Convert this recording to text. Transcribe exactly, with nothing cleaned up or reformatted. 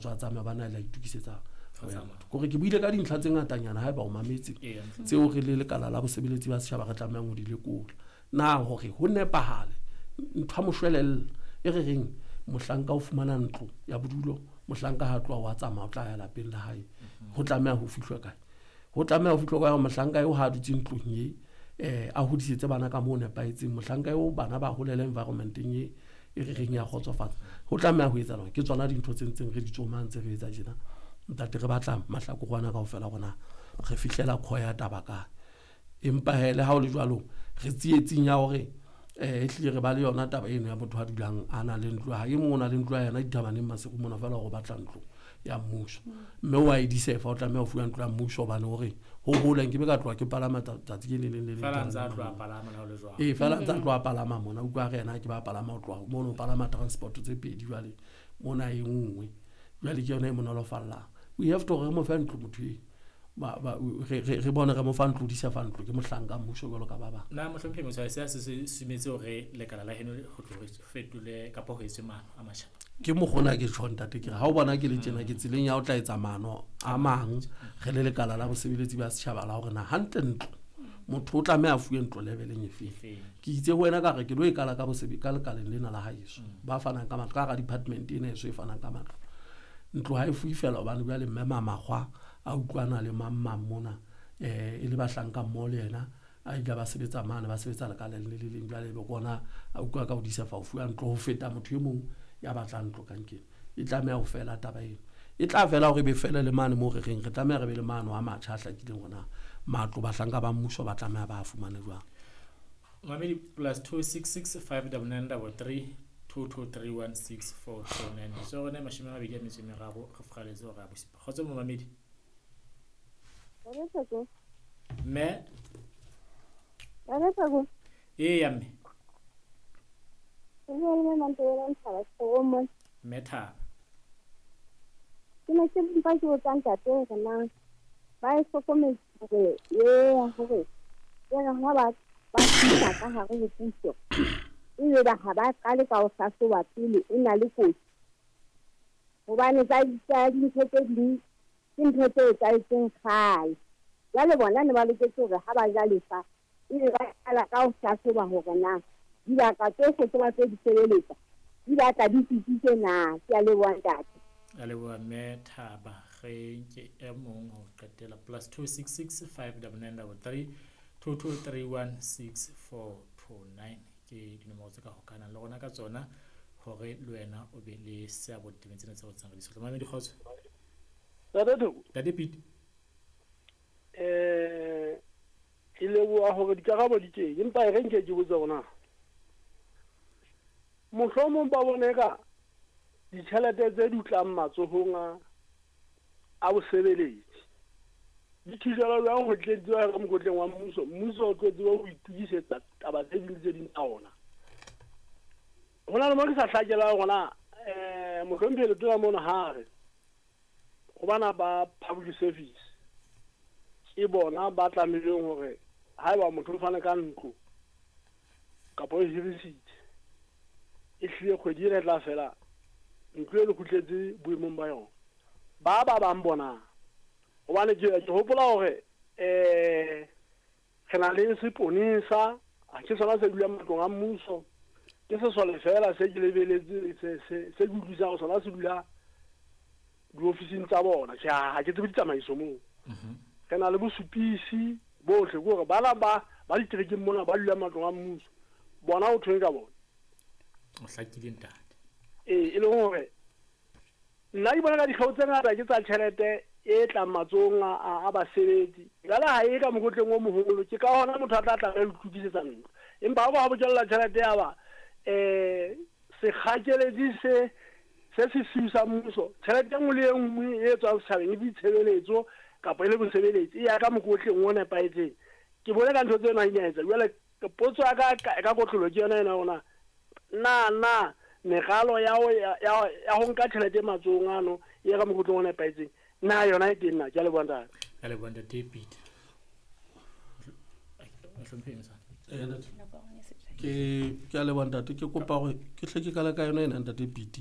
Tswa tsamaya ba na le itukisetsa kore ke buile ka dintlha tse ngatanyana haeba o mametse tseo re le lekala la bosebeletsi ba setjhaba re tlamehang ho di lekola. Na hore ho nepahale ntho ya moshwelella e re reng mohlanka o fumana ntlo ya bodulo, mohlanka ha tloha wa tsamaya o tla ya lapeng la hae, ho tlameha ho fihlwa kae? Ho tlameha ho fihlwa kae hore mohlanka eo ha a dutse ntlong e eh a hodisetse bana ka moo nepahetseng, mohlanka eo bana ba holele environmenteng e e re reng ya kgotsofatsa. Ho tlameha ho etsahala hore ke tsona dintho tse ntseng re di tsomang tse re etsa tjena. Ntate re batla mahlakore ana kaofela rona re fihlela kho ya taba kae. Empa hee le ha o le jwalo re tsietsing ya hore eh ehlile re ba le yona taba eno ya motho a dulang a na le ntlo ya hae. E mong o na le ntlo ya yena dithabaneng Maseru mona feela hore o batla ntlo ya mmuso. Mme wa e disefa o tlameha ho fuwa ntlo ya mmuso hobane hore ho hole nkebe ka tloha ke palama tsatsi le leng le leng. Feela ntse a tloha palama ha o le jwalo. Ee, feela ntse a tloha palama mona. Utlwa re yena ke ba palama ho tloha mono, o palama transport tse pedi jwale mona e nngwe. Jwale ke yona e mo nolofallang. We have to re mo fe ntlo motho eo. Ba ba re re bone re mo fa ntlo, di sa fa ntlo ke mohlanka mmuso jwalo ka ba bang. Na mohlomphehi Motshwae se se sumetse hore lekala la heno ho tlo fetole kapa ho etswe maano a matjha? Ke mokgona ke tjho ntate ke re ha o bona ke le tjena ke tseleng ya ho tla etsa maano a mang re le lekala la bosebeletsi ba setjhaba la hore na hantle ntlo motho o tlameha a fuwe ntlo leveleng efe. Ke itse ho wena ka re ke lo e kala ka bosebe ka lekaleng lena la haeso ba fanang ka matlo ka hara department ena eso e fanang ka matlo. Ntlo ha e fuwe feela hobane jwale mme Mamakgwa a utlwana le mang mang mona eh e le bahlanka mmoho le yena a ile ba sebetsa mane ba sebetsa lekaleng le le leng jwale be kona a utlwa ka hodisa fa o fuwa ntlo ho feta motho e mong ya batlang ntlo kankeng. E tlameha ho fela taba eno. E tla fela hore e be fele le mane moo re reng re tlameha re be le maano a matjha a hlakileng hore na matlo bahlanka ba mmuso ba tlameha ba fumane jwang. Mamedi plus two six six five double nine double three two two three one six four two nine. So rona mashome a mabedi a metso e meraro re furaletse hora ya bosupa. Kgotso momamedi. Mme. Eya mme. Mme Thaba. Ke ne ke mpa ke botsa ntate hore na ba e hlokometse hore e hore e re ha ba ba fihla ka hare ho puso ebe ba ha ba qale ka ho hlahloba pele e na le kotsi, hobane tsa tsa dintho tse ding ke ntho tse etsahetseng kgale. Jwale bona ne ba loketse hore ha ba ja lefa ebe ba qala ka ho hlahloba hore na dibaka tsohle tse ba tlo di sebeletsa di batla di tsitsitse na. Ke a leboha ntate. A leboha mme Thaba. Re nke e mong ho qetela plus two six six five double nine double three two two three one six four two nine ke dinomoro tse ka hokahanang le rona ka tsona hore le wena o be le seabo ditabeng tsena tse re tsang re di sotla. Mamedi kgotso. Ntate Thoko. Ntate Pete. Eh ke leboha hore dikarabo di teng empa e re nke ke botse hore na mohlomong ba bone ka ditjhelete tse dutlang matsohong a a bosebeletsi di thijela jwang ho tletsiwa ka mokotleng wa mmuso, mmuso o tlo tseba ho itukisetsa taba tse ding tse ding tsa ona. Ho na le mo ke sa hlakelang hore na eh mohlomphehi Letona mona ha re ho bana ba public service ke bona ba tlamehileng hore haeba motho o fana ka ntlo kapa o hirisitse e hlile kgwedi ena e tla fela ntlo e le kgutletse boemong ba yona. Ba ba bang bona hobane ke ke hopola hore eh re na le seponesa ha ke sona se dulang matlong a mmuso, ke sesole fela se ke lebeletse se se se ke utlwisang sona se dula diofising tsa bona. Ke ha ke tsebe ditsamaiso moo. Re na le bosupisi bohle ke hore bana ba ba diterekeng mona ba dulang matlong a mmuso bona ho thweng ka bona. O hlakile ntate. Ee, e leng hore nna ke bona ka dikgeo tse ngata ke tsa tjhelete e tlang matsohong a a basebetsi. Jwale ha e ka mokotleng o moholo, ke ka hona motho a tla tlameha ho itukisetsa ntlo. Empa ha ba bokella tjhelete ya ba eh sekgakeletsi se se sesiu sa mmuso, tjhelete e nngwe le e nngwe e tswang setjhabeng e ditshebeletso kapa e le bosebeletsi e ya ka mokotleng o nepahetseng. Ke bone ka ntho tseno ha di a etsa. Jwale potso ya ka ka kotlolo ke yona ena hore na na meralo ya ho ya ya ho nka tjhelete matsohong ano e ya ka mokotleng o nepahetseng na yona e teng na? Ke a leboha ntate. Ke a leboha ntate Peter. Mohlomphehi Moswane. Ke ke a leboha ntate. Ke kopa hore ke hle ke qale ka yona ena ntate Pete.